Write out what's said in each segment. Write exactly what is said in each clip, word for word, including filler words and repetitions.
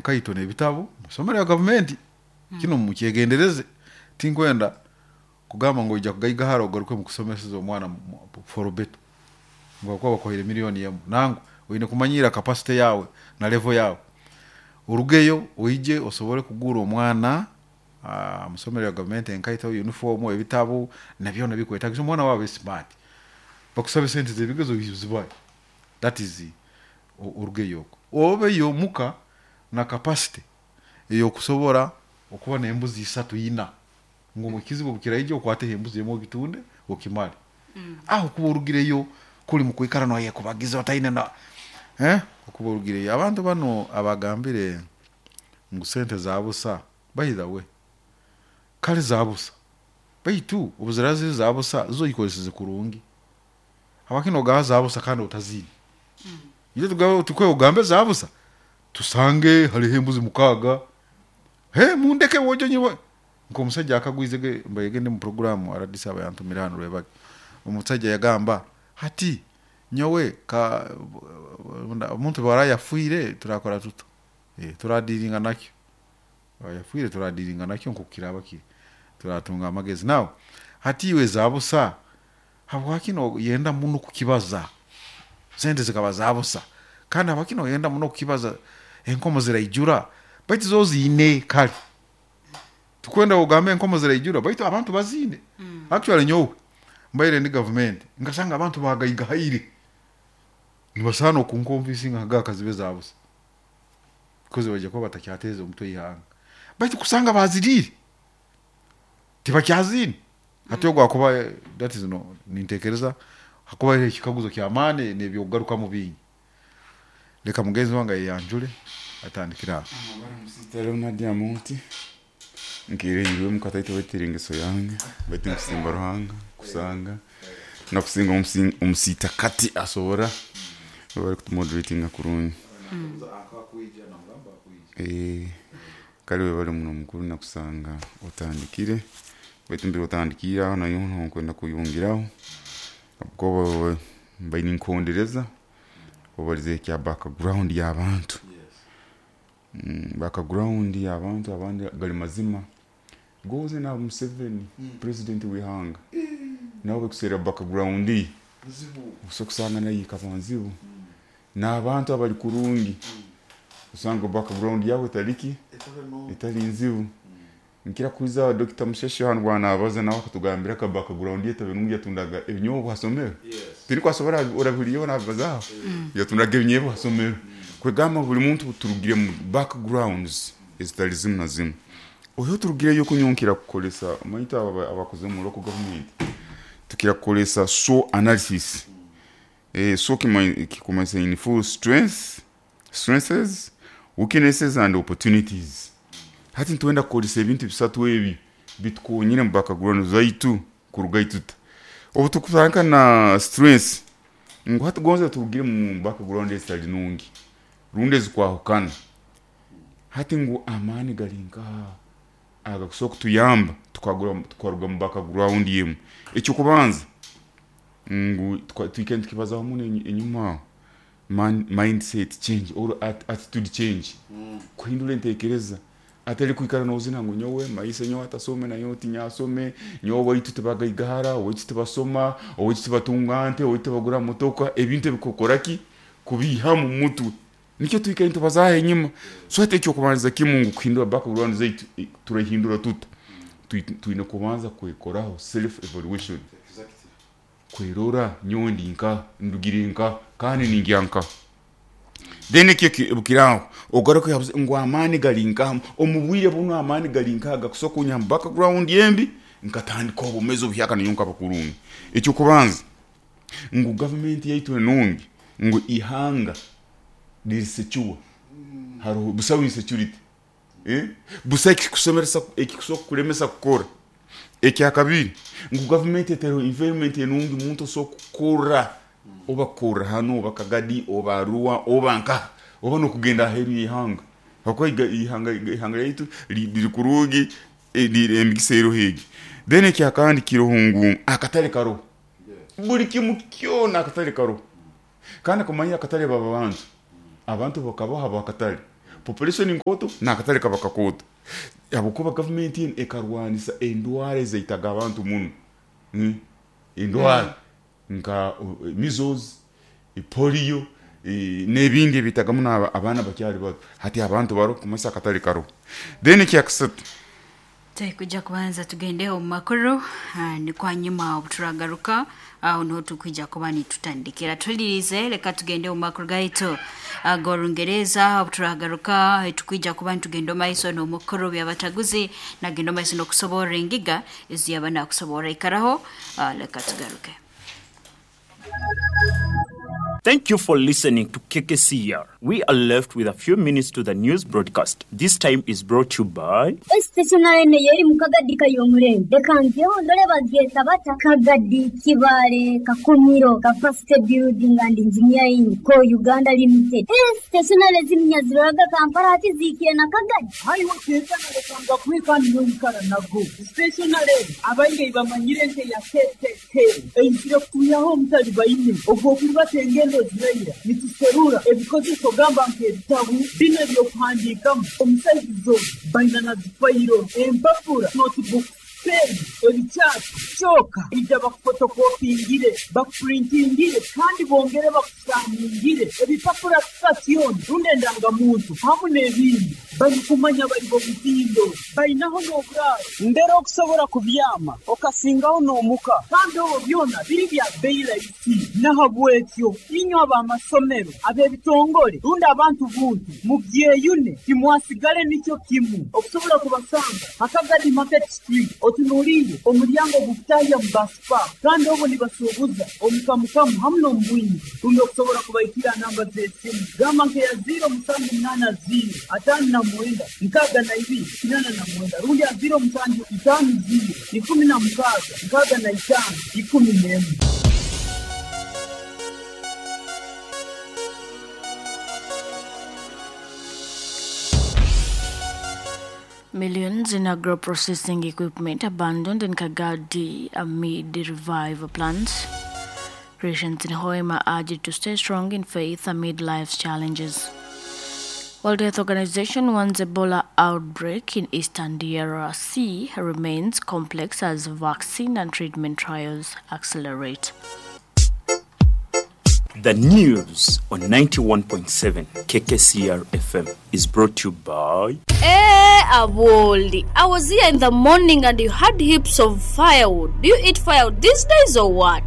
Enkaito n'ebitabu musomero ya gavumenti. Kino mukyegendereze, tinkwenda kugamba ngu oija kugaigahara ogaruke mukusomeseza omwana for better ngu habwokuba bakuhaire miliyoni emu. Nangwa, oine kumanyiira capacity yawe na level yawe, orugeyo oije osobole kugurra omwana musomero ya gavumenti enkaito, uniform, ebitabu na byona ebikwetagisa omwana wawe abe smart. Bakusabe sente z'ebigezo ozibahe, that is orugeyo okwo obeyo muka na capacity ey'okusobora okuba n'embuzi isatu, ina, ngu ekizibu obu kiraija okwateho embuzi emu ogitunde okimale. Aho kuba orugireyo kuli mukwikara noyekubagiza otaine na okuba orugireyo. Abantu banu abagambire ngu sente za busa, by the way, kale za busa, baitu obu ziraaba ziri za busa, zo ozikozeseze kurungi? Habwaki nogamba za busa kandi otaziine? Itwe tukwe ogambe za busa, tusange haroho embuzi mukaaga, mundeke boojo nyowe, nk'omusaija akagwize mbaire ndi mu program R D C aba yantumire hanu Rwebage, omusaija yagamba hati nyowe ka omuntu obu araaba yafiire turakora tuta? Turadiiringa nakyo, yafiire turadiiringa nakyo nkoku kiraaba kiri, turatunga amagezi. Now hati iwe za busa, habwaki noyenda muno kukibaza sente zikaba za busa, kandi habwaki noyenda muno kukibaza enkomo ziraijura, baitu zo oziine? Kare tukwenda ogambe enkomo ziraijura, baitu abantu baziine. Actually nyowe mbaire ndi gavumenti nkasanga abantu bagaigahaire, nibasaana okunconvincinga nkagamba kazibe za busa because baija kuba batakyateeza omutwe ihanga, baitu kusanga baziriire tibakyaziine. Hati ogu akuba that is no, ninteekereza hakuba haroho ekikaguzo ky'amaani n'ebyokugarukamu bingi. Leka mugenzi wange ayeyanjule atandikire aho. Musita Leonard Amonti, nkireirwe mukataito baitu engeso yange, baitu nkusimba Ruhanga kusanga nakusinga omusiita kati asobora bari kutumoderatinga kurungi. Eh, kale webale muno mukuru, nakusanga otandikire, baitu mbere otandikiire aho nayo nkwenda kuyongeraho habwokuba mbaire ninkuhondereza obalize ekya background y'abantu. Background y'abantu abandi gali mazima goze na Museveni president w'ihanga nawe bekuseera background ye osobola kusanga nayo ekaba nzibu, n'abantu abali kurungi osanga background yabo etali ki, etali nzibu. Nkira kuhuriza Doctor Musheshe hanu bwanabaza, nawe akatugambira ka background ye etabe nungi, yatundaga ebinyobwa ha somero, tiniko asobora orabihuriyeho nabibazaho, yatundaga ebinyobwa ha somero. Kwegamba buli muntu turugire mu backgrounds ezitali zimu na zimu. Oyo turugireyo kunyonkera kukolesa omanyi abo abakoze mu local government tukira kukolesa S W O T analysis. eh, S W O T kikumanyisa in full strength, strengths, weaknesses and opportunities. Hati nitwenda kukozesa ebintu bisatu ebi bitukonyere mu background zaitu kurugayo tuta. Obu tukutandika na strengths, ngu hati gonza turugire mu background ezitali nungi rundi ezikwahukana, hati ngu amaani gari nkaha agakusobola kutuyamba tukaruga mu background emu? Ekyokubanza ngu twikare nitukibazaho muno enyuma aho, mindset change or attitude change, kuhindura entekereza, atari kwikara nozina ngu nyowe maise nyowe atasome, nanyowe tinyasome, nyowe owaitu tibagaigahara, owaitu tibasoma, owaitu tibatunga nte, owaitu tibagura motoka. Ebintu ebikukora ki kubiihamu mumutwe, nikyo twikaire nitubazaho enyuma. So hati ekyokubanza kimu ngu kuhindura background zaitu, turahindura tuta? Twine kubanza kwekoraho self evaluation, kwerora nyowe ndi nkaha, ndugire nkaha, kandi ningya nkaha. Then ekyo bukiraho ogaruke ngu amaani gari nkaha omu bwire bunu, amaani gari nkaha gakusobola kunyiha mu background embi nkatandika obwomeezi obuhyaka nanyowe nkaba kurungi? Ekyokubanza ngu gavumenti yaitu enungi, ngu ihanga riri secure, haroho busaho insecurity, busaho ekikusomeresa ekikusobola kukulemesa kukora. Ekyakabiri ngu gavumenti etereho environment enungi omuntu osobola kukora, oba kukorra hanu, oba Kagadi, oba Arua, oba nkaha, oba n'okugenda aheeru y'ihanga, habwokuba ihanga ihanga lyaitu riri kurungi, emigisa eroho egi. Then ekyakandi kiroho ngu akatale karoho, buli kimu kyona akatale karoho, kandi kumanya akatale baba bantu, abantu bakabaho habwakatale. Population nkooto n'akatale kaba kakooto, habwokuba gavumenti enu ekarwanisa endwara ezaitaga abantu muno, mm? Endwara nka uh, measles, polio, eh, n'ebindi ebitaga muno aba- abaana bakyali bato. Hati abantu baro kumasa akatale karoho. Then ekyakasatu, Tukujja kubanza tugende omu makuru, ah, nikwo nyuma obuturagaruka aho niho tukwija kuba nitutandikira. Tulirize, leka tugende omu makuru gaitu ag'orungereza. Obuturagaruka tukwija kuba nitugenda omu maiso n'omukuru byabataguzi nagenda omu maiso n'okusoborra engiga eziyaba nakusoborra. Ikaraho, ah, leka tugaruke. Thank you for listening to K K C R. We are left with a few minutes to the news broadcast. This time is brought to you by Stationery eno yeri mu Kagadi kayomurembe, reka ngeho ndore bagyeta bata: Kagadi Kibale Kakumiro Capacity Building and Engineering Co Uganda Limited. Eh, stationery ziminya ziroraga Kampala hati ziikire na Kagadi. Haiwe tekana, lekanga kwekandi noikara nago. Stationery abaingi bamanyire nke ya K K K eizire kutuyaho omutali baine ogwokuribata engendo ziraira. Nituserura ebikozeso gamba nk'ebitabu bino ebyokuhandiikamu omusaizi baina na zifayiro, empapura, notebook, pen, ebikyati kyoka ija bakufotokopingire, bakupurintingire kandi bongere bakusaningire ebipapura sitasioni rundi endangamuntu hamu n'ebindi. Barikumanya bari bomutindo bainaho n'oburaaro mbere okusobola kubyama okasingaho n'omuka, kandi obwo byona biri bya bei rahisi. Nahabwekyo inywe ab'amasomero, ab'ebitongole rundi abantu buntu mubyeyune, timwasigale nikyo kimu. Okusobola kubasanga Hakagadi Market Street, otunuliire omulyango gukutahya mu baspa, kandi obwo nibasuubuza omukamukamu hamu n'omubwingi. Rundi okusobola kubaikira namba z'esimu gamba nkeya ziro musanju munaana ziro ataano na mwenda nkaaga na ibiri kinaana na mwenda rundi ya ziro musanju itaano ziro ikumi na mukaaga nkaaga na itaano ikumi n'emu. Millions in agro-processing equipment abandoned in Kagadi amid the revival plans. Christians in Hoima urged to stay strong in faith amid life's challenges. World Health Organization warns Ebola outbreak in Eastern D R C remains complex as vaccine and treatment trials accelerate. The news on ninety-one point seven K K C R F M is brought to you by Eh, Aboli, I was here in the morning and you had heaps of firewood. Do you eat firewood these days or what?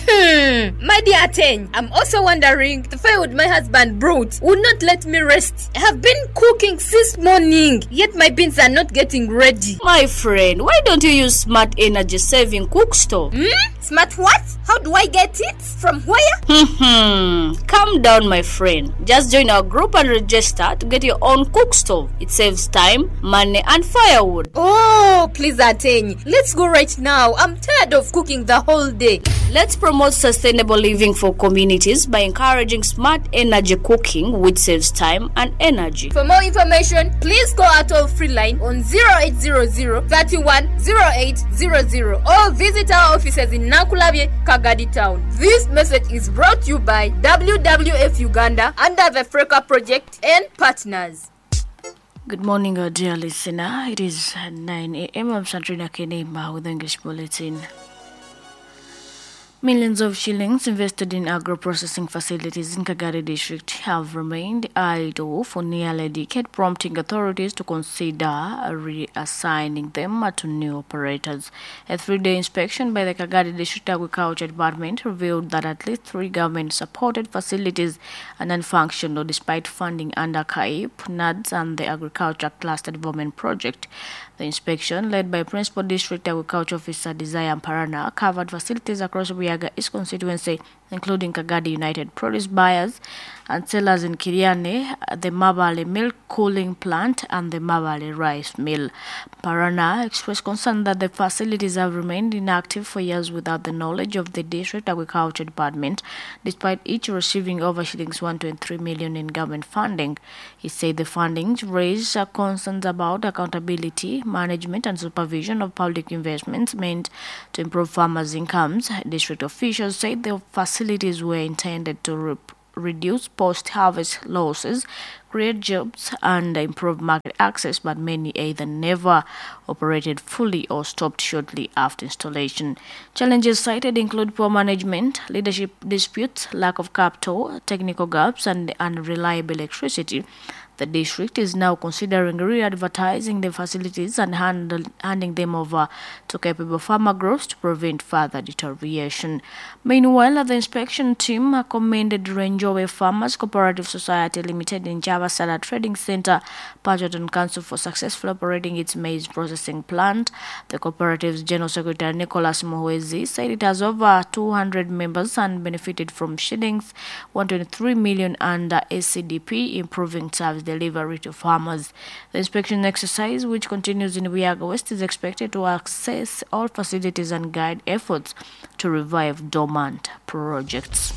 Hmm, my dear Ateng, I'm also wondering. The firewood my husband brought would not let me rest. I have been cooking since morning, yet my beans are not getting ready. My friend, why don't you use smart energy saving cook stove? Hmm? Smart what? How do I get it? From where? Hmm. Calm down, my friend. Just join our group and register to get your own cook stove. It saves time, money, and firewood. Oh, please, Ateng. Let's go right now. I'm tired of cooking the whole day. Let's promote sustainable living for communities by encouraging smart energy cooking, which saves time and energy. For more information, please call our toll free line on zero eight zero zero thirty-one oh eight zero zero or visit our offices in Nankulabye, Kagadi Town. This message is brought to you by W W F Uganda under the FRECA project and partners. Good morning, uh, dear listener. It is nine a m. I'm Sandrina Kenema with the English Bulletin. Millions of shillings invested in agro-processing facilities in Kagadi district have remained idle for nearly a decade, prompting authorities to consider reassigning them to new operators. A three-day inspection by the Kagadi District Agriculture Department revealed that at least three government-supported facilities are non-functional despite funding under KAIP, NAADS, and the Agriculture Cluster Development Project. The inspection, led by Principal District Agriculture Officer Desire Parana, covered facilities across Buyaga East constituency, including Kagadi United Produce Buyers and Sellers in Kiriane, the Mabale Milk Cooling Plant, and the Mabale Rice Mill. Parana expressed concern that the facilities have remained inactive for years without the knowledge of the District Agriculture Department, despite each receiving over shillings one point three million in government funding. He said the findings raise concerns about accountability, management, and supervision of public investments meant to improve farmers' incomes. District officials said the facilities were intended to re- reduce post-harvest losses create jobs, and improve market access, but many either never operated fully or stopped shortly after installation. Challenges cited include poor management, leadership disputes, lack of capital, technical gaps, and unreliable electricity. The district is now considering re-advertising the facilities and handle, handing them over to capable farmer groups to prevent further deterioration. Meanwhile, the inspection team commended Renjowe Farmers Cooperative Society Limited in Java Sala Trading Center, Pajoton Council for successfully operating its maize processing plant. The cooperative's General Secretary Nicholas Muhwezi said it has over two hundred members and benefited from shillings one hundred twenty-three million under A C D P, improving service delivery to farmers. The inspection exercise, which continues in Buyaga West, is expected to access all facilities and guide efforts to revive dormant projects.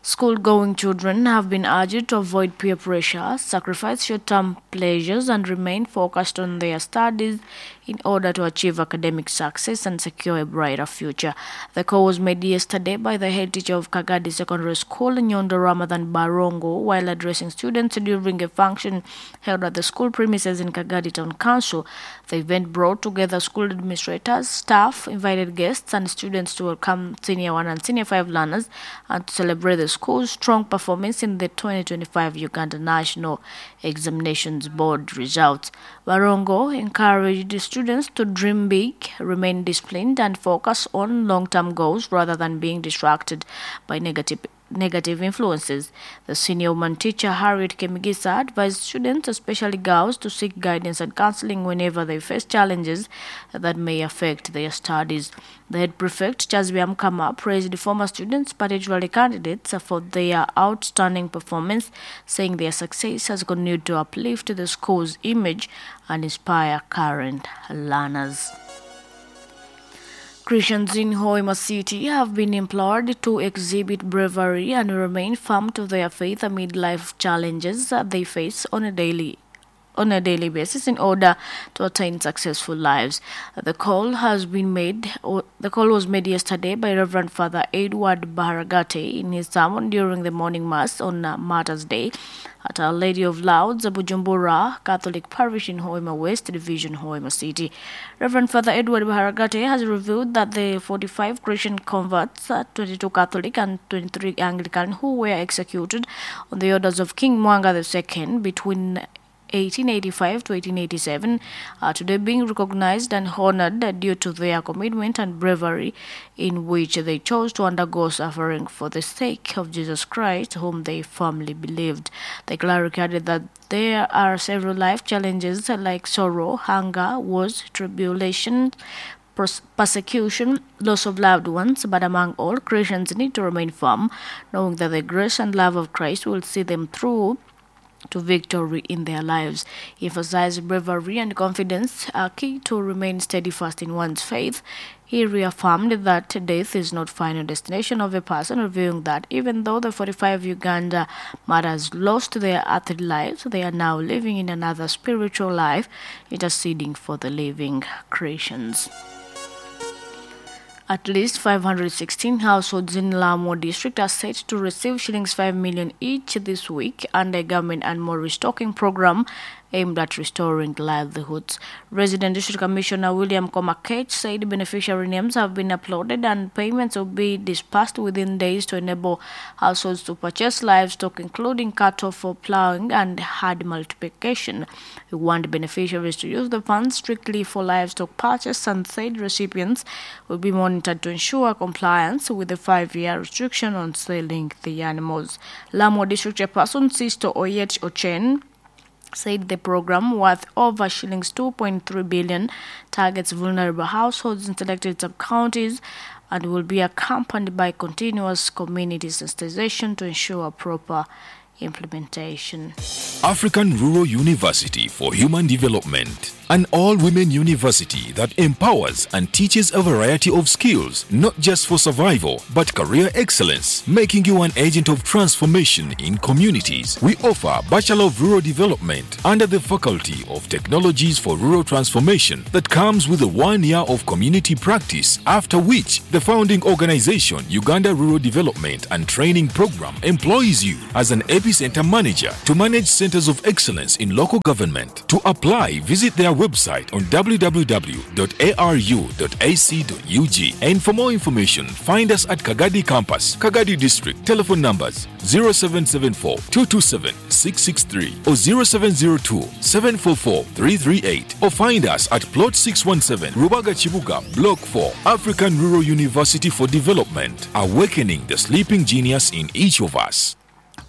School-going children have been urged to avoid peer pressure, sacrifice short-term pleasures, and remain focused on their studies in order to achieve academic success and secure a brighter future. The call was made yesterday by the head teacher of Kagadi Secondary School, Nyondo Ramadhan Barongo, while addressing students during a function held at the school premises in Kagadi Town Council. The event brought together school administrators, staff, invited guests, and students to welcome Senior one and Senior five learners and to celebrate the school's strong performance in the twenty twenty-five Uganda National Examinations Board results. Barongo encouraged the students to dream big, remain disciplined, and focus on long-term goals rather than being distracted by negative negative influences. The senior woman teacher, Harriet Kemigisa, advised students, especially girls, to seek guidance and counseling whenever they face challenges that may affect their studies. The head prefect, Chazbia Mkama, praised former students, particularly candidates, for their outstanding performance, saying their success has continued to uplift the school's image and inspire current learners. Christians in Hoima City have been implored to exhibit bravery and remain firm to their faith amid life challenges that they face on a daily on a daily basis in order to attain successful lives. The call has been made, or the call was made yesterday by Reverend Father Edward Baharagate in his sermon during the morning mass on Martyrs' Day at Our Lady of Lourdes, Bujumbura Catholic Parish in Hoima West Division, Hoima City. Reverend Father Edward Baharagate has revealed that the forty-five Christian converts, twenty-two Catholic and twenty-three Anglican, who were executed on the orders of King Mwanga the Second between eighteen eighty-five to eighteen eighty-seven, are today being recognized and honored due to their commitment and bravery in which they chose to undergo suffering for the sake of Jesus Christ, whom they firmly believed. The cleric added that there are several life challenges like sorrow, hunger, wars, tribulation, persecution, loss of loved ones, but among all, Christians need to remain firm, knowing that the grace and love of Christ will see them through to victory in their lives. He emphasized bravery and confidence are key to remain steadfast in one's faith. He reaffirmed that death is not final destination of a person, revealing that even though the forty-five Uganda martyrs lost their earthly lives, they are now living in another spiritual life, interceding for the living Christians. At least five hundred sixteen households in Lamwo district are set to receive shillings five million each this week under a government animal restocking program aimed at restoring livelihoods. Resident District Commissioner William Komakech said beneficiary names have been uploaded and payments will be dispersed within days to enable households to purchase livestock, including cattle for plowing and herd multiplication. We want beneficiaries to use the funds strictly for livestock purchase and said recipients will be monitored to ensure compliance with the five-year restriction on selling the animals. Lamwo District Chairperson Sisto Oyet Ochen said the program, worth over shillings two point three billion, targets vulnerable households in selected sub-counties and will be accompanied by continuous community sensitization to ensure proper implementation. African Rural University for Human Development, an all-women university that empowers and teaches a variety of skills, not just for survival, but career excellence, making you an agent of transformation in communities. We offer Bachelor of Rural Development under the Faculty of Technologies for Rural Transformation that comes with a one year of community practice, after which the founding organization, Uganda Rural Development and Training Program, employs you as an Epicenter Manager to manage centers of excellence in local government. To apply, visit their website on w w w dot a r u dot a c dot u g. And for more information, find us at Kagadi Campus, Kagadi District. Telephone numbers zero seven seven four, two two seven, six six three or zero seven zero two, seven four four, three three eight, or find us at Plot six one seven, Rubaga Chibuga, Block four, African Rural University for Development, awakening the sleeping genius in each of us.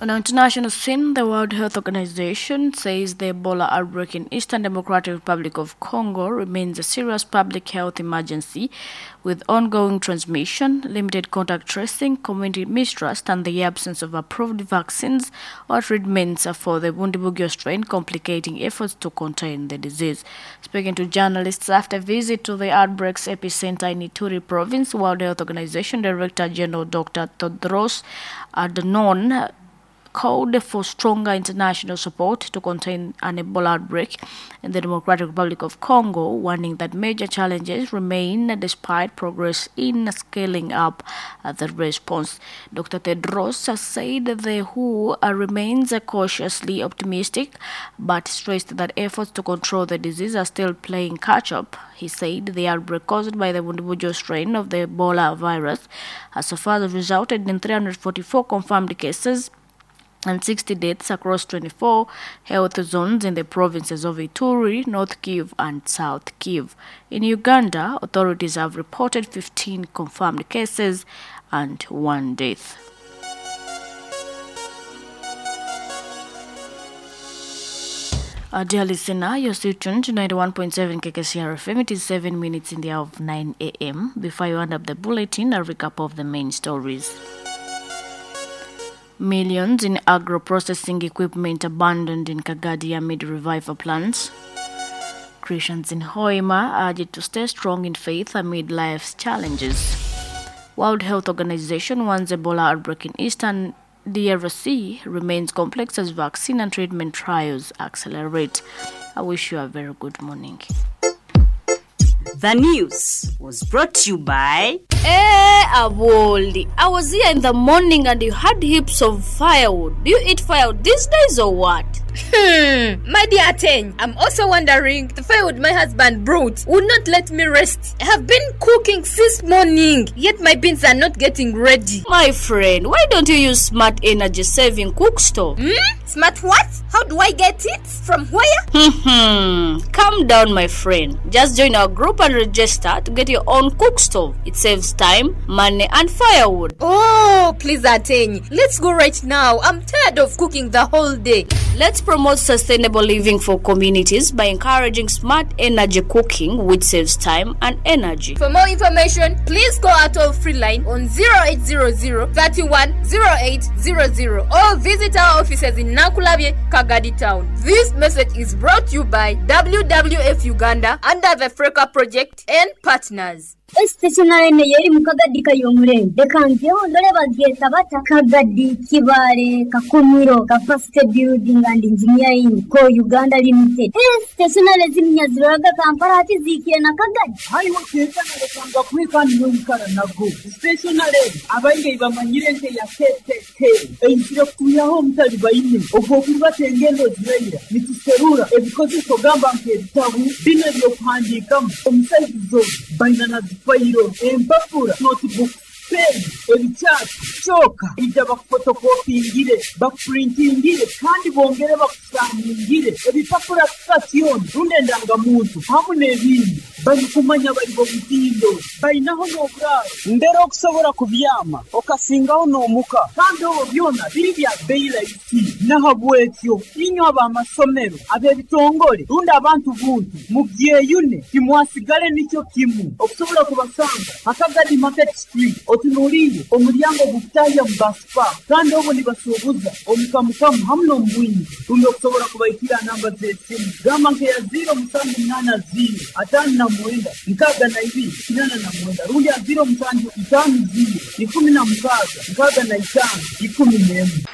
On the international scene, the World Health Organization says the Ebola outbreak in Eastern Democratic Republic of Congo remains a serious public health emergency, with ongoing transmission, limited contact tracing, community mistrust, and the absence of approved vaccines or treatments for the Bundibugyo strain, complicating efforts to contain the disease. Speaking to journalists after a visit to the outbreak's epicenter in Ituri province, World Health Organization Director General Doctor Tedros Adhanom called for stronger international support to contain an Ebola outbreak in the Democratic Republic of Congo, warning that major challenges remain despite progress in scaling up the response. Doctor Tedros said the W H O remains cautiously optimistic, but stressed that efforts to control the disease are still playing catch-up. He said the outbreak caused by the Bundibugyo strain of the Ebola virus has so far resulted in three hundred forty-four confirmed cases and sixty deaths across twenty-four health zones in the provinces of Ituri, North Kivu, and South Kivu. In Uganda, authorities have reported fifteen confirmed cases and one death. Uh, dear listener, you're still tuned to ninety-one point seven K K C R F M. It is seven minutes in the hour of nine a m Before you end up the bulletin, a recap of the main stories. Millions in agro-processing equipment abandoned in Kagadi amid revival plans. Christians in Hoima urged to stay strong in faith amid life's challenges. World Health Organization warns Ebola outbreak in Eastern D R C remains complex as vaccine and treatment trials accelerate. I wish you a very good morning. The news was brought to you by... Hey, Aboli, I was here in the morning and you had heaps of firewood. Do you eat firewood these days or what? Hmm, my dear Ateng, I'm also wondering, the firewood my husband brought would not let me rest. I have been cooking since morning, yet my beans are not getting ready. My friend, why don't you use smart energy saving cook stove? Hmm? Smart what? How do I get it? From where? Hmm, calm down, my friend. Just join our group and register to get your own cook stove. It saves time, money, and firewood. Oh, please, Ateng, let's go right now. I'm tired of cooking the whole day. Let's promote sustainable living for communities by encouraging smart energy cooking, which saves time and energy. For more information, please call our toll-free line on zero eight zero zero, thirty-one, zero eight zero zero or visit our offices in Nakulabye, Kagadi Town. This message is brought to you by W W F Uganda under the Freka Project and partners. Stationary yeri mu Kagadi kayomurembe reka ngeho ndore bagyeta bata Kagadi Kibale Kakumiro Capacity Building and Engineering Co Uganda Limited. Stationary zimnyaziraga Kampala ati zikire na Kagadi hariho tetana rekanga kwikani n'oyikara nago stationary abaingi bamanyire nke ya K K K eyizire kutuyaho omutali baine ogwo okuliba engendo ziraira nituserura ebikozeso gamba nk'ebitabu bino ebyokuhandiikamu omusaizi baina na fayiro, empapura, notebook, pen, ebikyati, kyoka ijja bakufotokopingire, bakupurintingire kandi bongere bakusaningire ebipapura sitasioni rundi endangamuntu hamu n'ebindi barikumanya bari bo mutindo balinaho n'oburaaro mbere okusobola kubyama okasingaho n'omuka kandi obwo byona biri bya bbeeyi rahisi nahabwekyo inywe ab'amasomero ab'ebitongole rundi abantu buntu mubyeyune timwasigale nikyo kimu okusobola kubasanga Akagadi Market Street otunuulire omulyango gukutahya mu basipa kandi obwo nibasuubuza omukamukamu hamu n'omubwingi rundi okusobola kubaikira namba z'esimu gamba nkeya ziro musanju munaana ziro ataano na mwenda nkaaga na ibiri kinana na mwenda rundi ya ziro musanju itaano ziro ikumi na mukaaga nkaaga na itaano ikumi n'emwe.